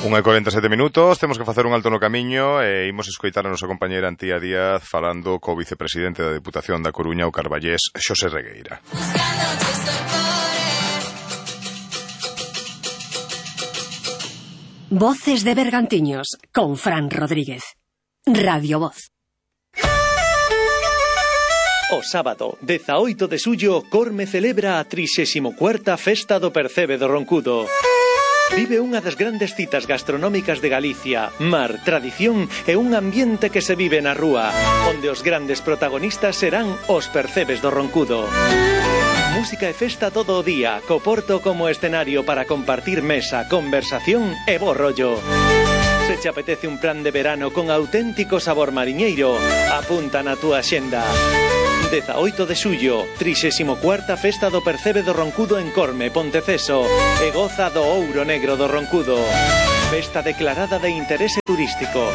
1:47 minutos, temos que facer un alto no camiño e imos escoitar a nosa compañeira Antía Díaz falando co vicepresidente da Deputación da Coruña, o carballés Xosé Regueira. Voces de Bergantiños con Fran Rodríguez. Radio Voz. O sábado, 18 de xullo, Corme celebra a 34ª Festa do Percebe do Roncudo. Vive unha das grandes citas gastronómicas de Galicia, mar, tradición e un ambiente que se vive na rúa, onde os grandes protagonistas serán os percebes do Roncudo. Música e festa todo o día, co Porto como escenario para compartir mesa, conversación e bo rollo. Se te apetece un plan de verano con auténtico sabor mariñeiro, apunta na túa xenda. 18 de xullo, 34ª Festa do Percebe do Roncudo en Corme, Ponteceso, e goza do ouro negro do Roncudo. Festa declarada de interese turístico.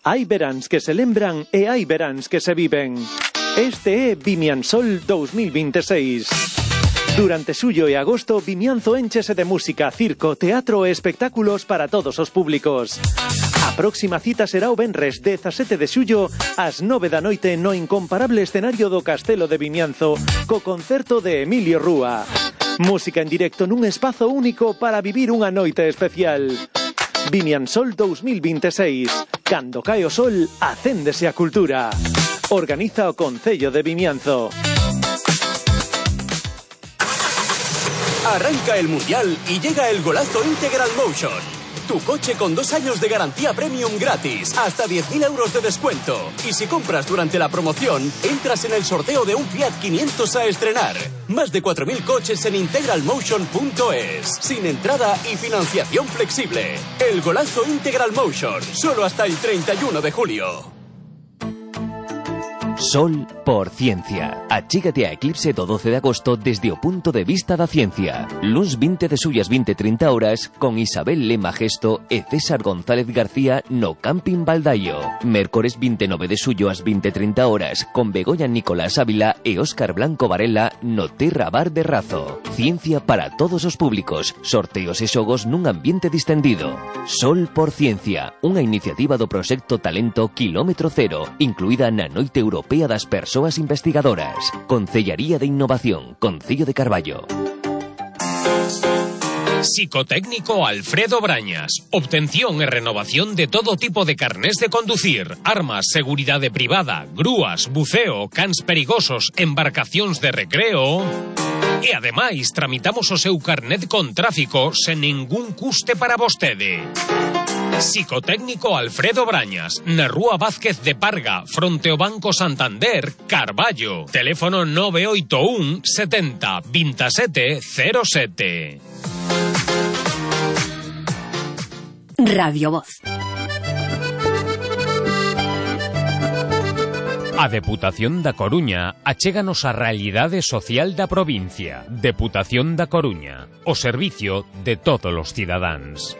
Hai veráns que se lembran e hai veráns que se viven. Este é Vimiansol 2026. Durante xullo e agosto, Vimianzo énchese de música, circo, teatro e espectáculos para todos os públicos. A próxima cita será o venres 17 de xullo ás 9 da noite no incomparable escenario do Castelo de Vimianzo co concerto de Emilio Rúa. Música en directo nun espazo único para vivir unha noite especial. Vimiansol 2026. Cando cae o sol, acéndese a cultura. Organiza o Concello de Vimianzo. Arranca el Mundial y llega el golazo Integral Motion. Tu coche con 2 años de garantía premium gratis, hasta 10.000 euros de descuento. Y si compras durante la promoción, entras en el sorteo de un Fiat 500 a estrenar. Más de 4.000 coches en integralmotion.es. Sin entrada y financiación flexible. El golazo Integral Motion, solo hasta el 31 de julio. Sol por Ciencia. Achígate a Eclipse do 12 de agosto desde o punto de vista da ciencia. Luns 20 de xullo ás 20:30 horas con Isabel Lema Gesto e César González García no Camping Baldaio. Mércores 29 de xullo ás 20:30 horas con Begoña Nicolás Ávila e Óscar Blanco Varela no Terra Bar de Razo. Ciencia para todos os públicos. Sorteos e xogos nun ambiente distendido. Sol por Ciencia, unha iniciativa do proxecto Talento Kilómetro Cero, incluída na Noite Europea das Persoas Investigadoras. Concellaría de Innovación, Concello de Carballo. Psicotécnico Alfredo Brañas. Obtención e renovación de todo tipo de carnés de conducir, armas, seguridade privada, grúas, buceo, cans perigosos, embarcacións de recreo. E ademais, tramitamos o seu carnet con tráfico sen ningún custe para vostede. Psicotécnico Alfredo Brañas, na Rúa Vázquez de Parga, fronte ao Banco Santander, Carballo. Teléfono 981 70 27 07. Radio Voz. A Deputación da Coruña achéganos a realidade social da provincia. Deputación da Coruña, o servicio de todos os cidadáns.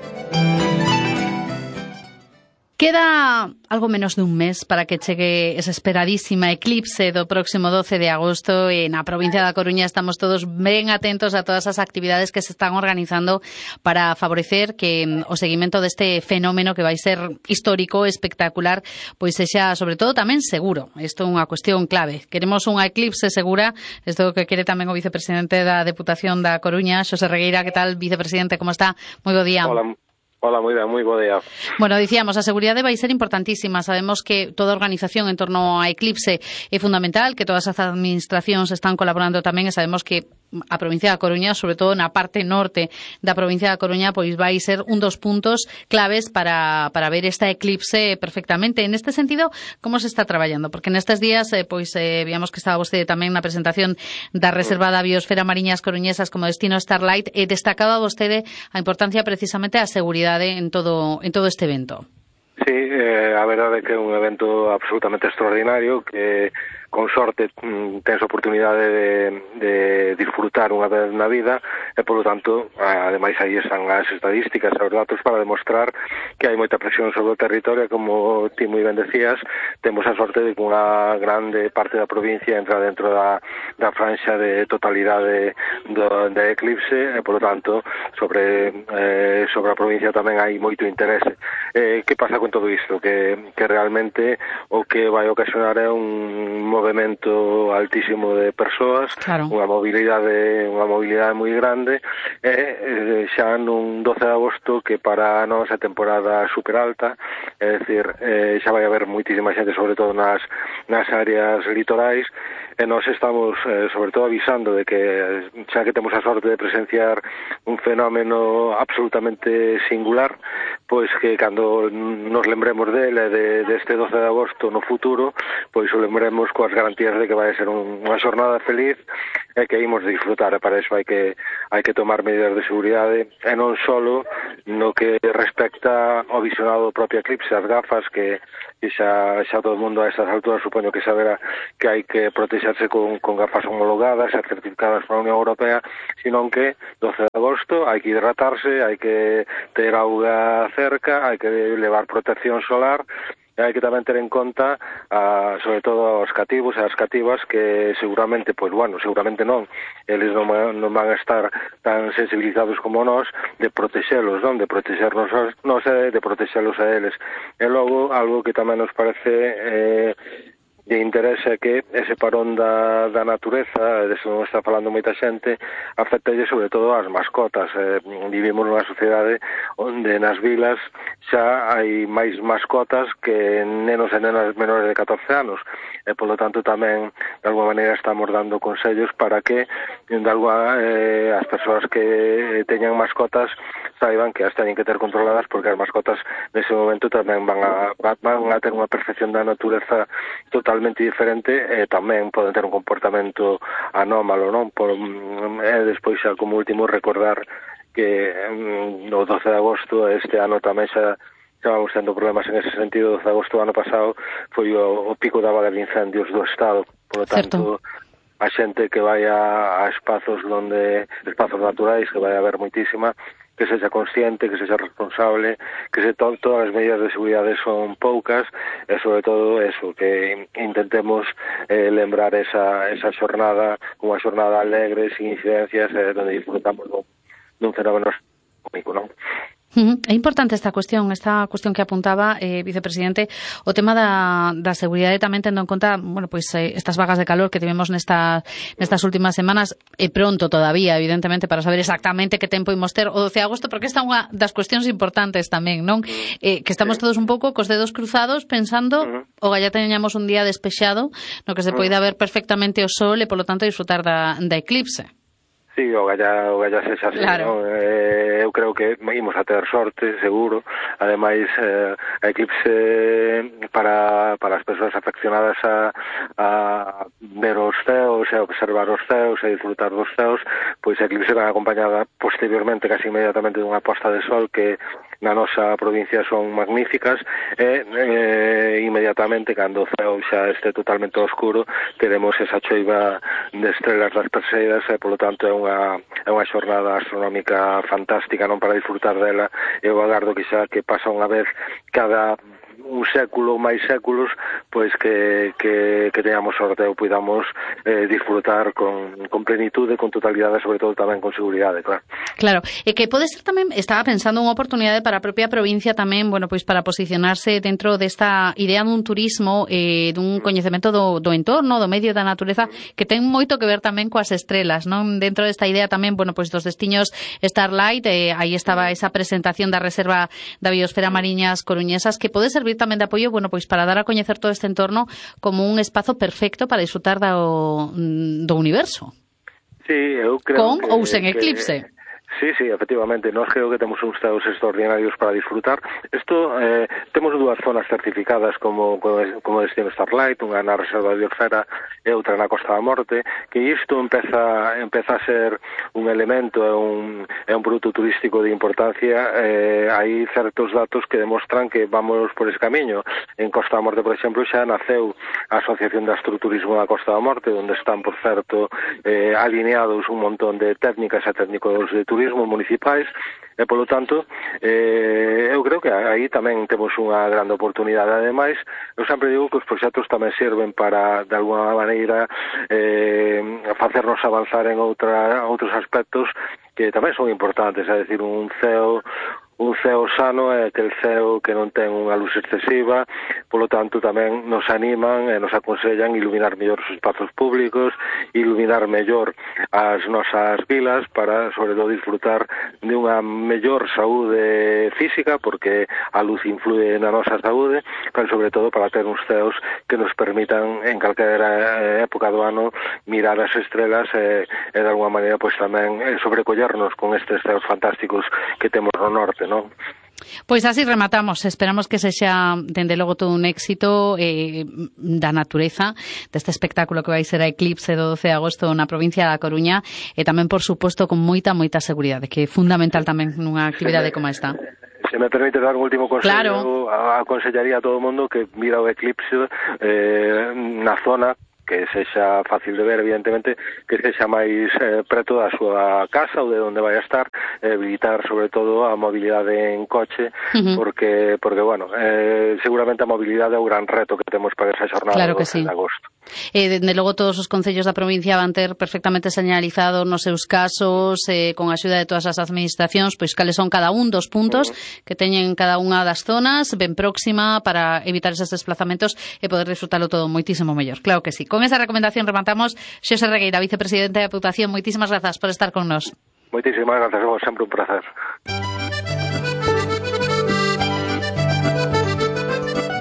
Queda algo menos dun mes para que chegue esa esperadísima eclipse do próximo 12 de agosto e na provincia da Coruña estamos todos ben atentos a todas as actividades que se están organizando para favorecer que o seguimento deste fenómeno que vai ser histórico, espectacular, pois sexa sobre todo tamén seguro. Isto é unha cuestión clave. Queremos unha eclipse segura, isto que quere tamén o vicepresidente da Deputación da Coruña, Xosé Regueira. Que tal, vicepresidente, como está? Moi bo día. Hola, moi ben, moi bo día. Bueno, dicíamos, a seguridade vai ser importantísima. Sabemos que toda a organización en torno a Eclipse é fundamental, que todas as administracións están colaborando tamén e sabemos que a provincia da Coruña, sobre todo na parte norte da provincia da Coruña, pois vai ser un dos puntos claves para ver esta eclipse perfectamente. En este sentido, como se está traballando? Porque nestes días, víamos que estaba vostede tamén na presentación da Reserva da Biosfera Mariñas Coruñesas como destino Starlight e destacaba vostede a importancia precisamente da seguridade en todo este evento. Sí, a verdade é que é un evento absolutamente extraordinario que con sorte tens a oportunidade de disfrutar unha vez na vida, e polo tanto, ademais aí están as estadísticas, os datos para demostrar que hai moita presión sobre o territorio, como ti moi ben decías, temos a sorte de que unha grande parte da provincia entra dentro da franxa de totalidade da eclipse, e polo tanto, sobre a provincia tamén hai moito interese. Que pasa con todo isto? Que realmente o que vai ocasionar é un movimento altísimo de persoas, claro, unha mobilidade moi grande, e xa nun 12 de agosto que para nós é temporada super alta, é dicir, xa vai haber moitísima xente, sobre todo nas áreas litorais, e nós estamos, sobre todo, avisando de que, xa que temos a sorte de presenciar un fenómeno absolutamente singular, pois que cando nos lembremos dele, deste 12 de agosto no futuro, pois o lembremos coas garantías de que vai ser unha xornada feliz e que imos disfrutar, e para iso hai que tomar medidas de seguridade, e non solo no que respecta ao visionado do propio eclipse, as gafas que xa todo o mundo a estas alturas supoño que saberá que hai que protexerse con gafas homologadas e certificadas pola Unión Europea, senón que 12 de agosto hai que hidratarse, hai que ter auga cerca, hai que levar protección solar, e hai que tamén ter en conta sobre todo os cativos e as cativas que seguramente, seguramente non, eles non van a estar tan sensibilizados como nós de protexelos, non? De protexernos nós e de protexelos a eles. E logo, algo que tamén nos parece de interese é que ese parón da natureza, deso non está falando moita xente, afectalle sobre todo as mascotas. Vivimos nunha sociedade onde nas vilas xa hai máis mascotas que nenos e nenas menores de 14 anos, e polo tanto tamén de alguma maneira estamos dando consellos para que as persoas que teñan mascotas saiban que as teñen que ter controladas, porque as mascotas nese momento tamén van a ter unha percepción da natureza totalmente diferente, e tamén poden ter un comportamento anómalo, non? Despois xa como último recordar que no 12 de agosto este ano tamén xa vamos tendo problemas en ese sentido. O 12 de agosto do ano pasado foi o pico da vaga de incendios do Estado, por lo tanto a xente que vai a espazos naturais, que vai haber moitísima, que sexa consciente, que sexa responsable, que todas as medidas de seguridade son poucas, e sobre todo eso, que intentemos lembrar esa xornada como unha xornada alegre, sin incidencias, donde disfrutamos dun fenómeno único, non? É importante esta cuestión que apuntaba, vicepresidente, o tema da seguridade, tamén tendo en conta, estas vagas de calor que tivemos nestas últimas semanas, e pronto todavía, evidentemente, para saber exactamente que tempo imos ter o 12 de agosto, porque esta é unha das cuestións importantes tamén, non? Que estamos todos un pouco cos dedos cruzados pensando o galla teñamos un día despexado no que se poida ver perfectamente o sol e, polo tanto, disfrutar da eclipse. Sí, o galla sexa así, claro. Non? Eu creo que imos a ter sorte, seguro. Ademais, a eclipse para as persoas afeccionadas a ver os ceos, e observar os ceos e disfrutar dos ceos, pois a eclipse va acompañada posteriormente, casi inmediatamente, dunha posta de sol que na nosa provincia son magníficas, e inmediatamente, cando o ceo xa este totalmente oscuro, teremos esa choiva de estrelas das Perseidas, e polo tanto é unha xornada astronómica fantástica, non, para disfrutar dela. Eu agardo que xa que pasa unha vez cada un século, máis séculos, pois que teñamos sorte ou podamos disfrutar con plenitude, con totalidade, sobre todo tamén con seguridade, claro. Claro, e que pode ser tamén, estaba pensando unha oportunidade para a propia provincia tamén, para posicionarse dentro desta idea dun turismo, dun coñecemento do entorno, do medio, da natureza, que ten moito que ver tamén coas estrelas, non? Dentro desta idea tamén, dos destiños Starlight, aí estaba esa presentación da Reserva da Biosfera Mariñas Coruñesas, que pode servir tamén de apoio, para dar a coñecer todo este entorno como un espazo perfecto para disfrutar do universo. Sí, eu creo con ou sen eclipse. Sí, efectivamente, nós creo que temos uns ceos extraordinarios para disfrutar. Isto, temos dúas zonas certificadas como destino Starlight, unha na Reserva de Biosfera e outra na Costa da Morte, que isto empeza a ser un elemento, é un produto turístico de importancia. Hai certos datos que demostran que vamos por ese camiño. En Costa da Morte, por exemplo, xa naceu a Asociación de Astroturismo da Costa da Morte, onde están, por certo, alineados un montón de técnicas e técnicos de turismo municipais, e polo tanto eu creo que aí tamén temos unha grande oportunidade. Ademais, eu sempre digo que os proxectos tamén serven para, de alguna maneira, facernos avanzar en outros aspectos que tamén son importantes, é dicir, un ceo sano é aquel ceo que non ten unha luz excesiva, polo tanto tamén nos animan e nos aconsellan iluminar mellor os espazos públicos, iluminar mellor as nosas vilas para, sobre todo, disfrutar de unha mellor saúde física, porque a luz influe na nosa saúde, pero sobre todo para ter uns ceos que nos permitan en calquera época do ano mirar as estrelas e de alguma maneira pois tamén sobrecollernos con estes ceos fantásticos que temos no norte, non? Pois así rematamos. Esperamos que sexa, dende logo, todo un éxito da natureza, deste espectáculo que vai ser a Eclipse do 12 de agosto na provincia da Coruña, e tamén, por suposto, con moita seguridade, que é fundamental tamén nunha actividade como esta. Se me permite dar un último consello, claro. Aconsellaría a todo o mundo que mira o eclipse na zona que sexa fácil de ver, evidentemente, que sexa máis preto da súa casa ou de onde vai a estar, evitar, sobre todo, a mobilidade en coche, porque bueno, seguramente a mobilidade é o gran reto que temos para esa xornada claro do 12 sí. de agosto. Dende logo, todos os concellos da provincia van ter perfectamente señalizado nos seus casos, con a axuda de todas as administracións, pois cales son cada un dos puntos que teñen cada unha das zonas ben próxima para evitar eses desplazamentos e poder disfrutalo todo moitísimo mellor. Claro que sí. Con esa recomendación rematamos. Xosé Regueira, vicepresidente da Deputación, moitísimas grazas por estar con nós. Moitísimas grazas, vos, sempre un placer.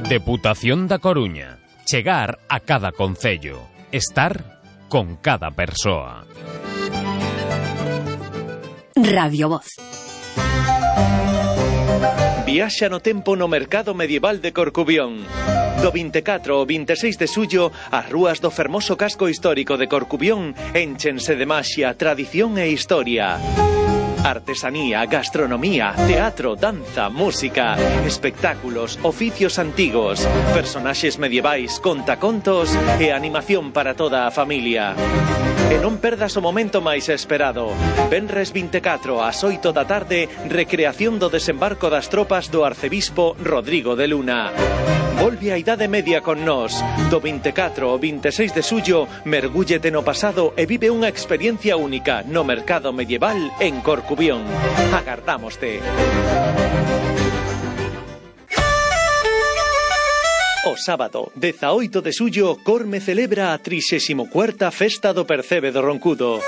Deputación da Coruña. Chegar a cada concello. Estar con cada persoa. Radio Voz. Viaxa no tempo no mercado medieval de Corcubión. Do 24 ao 26 de xullo, as rúas do fermoso casco histórico de Corcubión énchense de maxia, tradición e historia. Artesanía, gastronomía, teatro, danza, música, espectáculos, oficios antigos, personaxes medievais, contacontos e animación para toda a familia. E non perdas o momento máis esperado. Venres 24 ás 8 da tarde, recreación do desembarco das tropas do arcebispo Rodrigo de Luna. Volve a Idade Media con nós. Do 24 ao 26 de xullo, mergúllete no pasado e vive unha experiencia única no mercado medieval en Corcubión. Agardámoste. O sábado, 18 de xullo, Corme celebra a 34ª Festa do Percebe do Roncudo.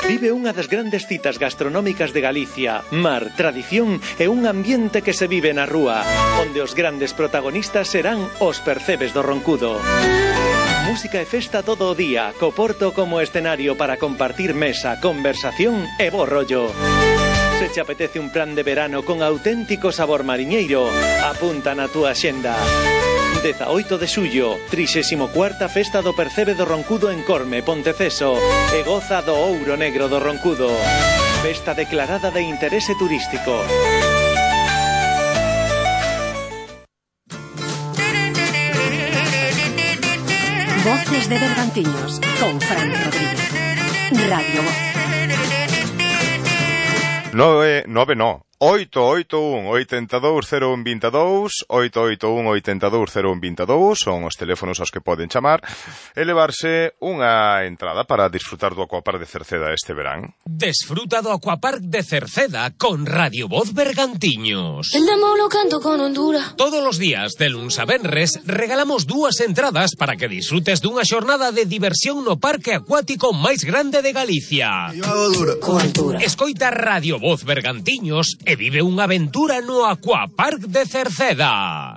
Vive unha das grandes citas gastronómicas de Galicia, mar, tradición e un ambiente que se vive na rúa, onde os grandes protagonistas serán os percebes do Roncudo. Música e festa todo o día, co Porto como escenario para compartir mesa, conversación e bo rollo. Se te apetece un plan de verano con auténtico sabor mariñeiro, apunta na túa xenda. 18 de xullo, 34ª Festa do Percebe do Roncudo en Corme, Ponteceso, e goza do ouro negro do Roncudo. Festa declarada de interese turístico. Voces de Bergantiños, con Fran Rodríguez. Radio Voz. 881-820122, 881-820122 son os teléfonos aos que poden chamar e levarse unha entrada para disfrutar do Aquapark de Cerceda este verán. Desfruta do Aquapark de Cerceda con Radio Voz Bergantiños. Todos os días, de luns a venres, regalamos 2 entradas para que disfrutes dunha xornada de diversión no parque acuático máis grande de Galicia. Escoita Radio Voz Bergantiños e vive unha aventura no Aquapark de Cerceda.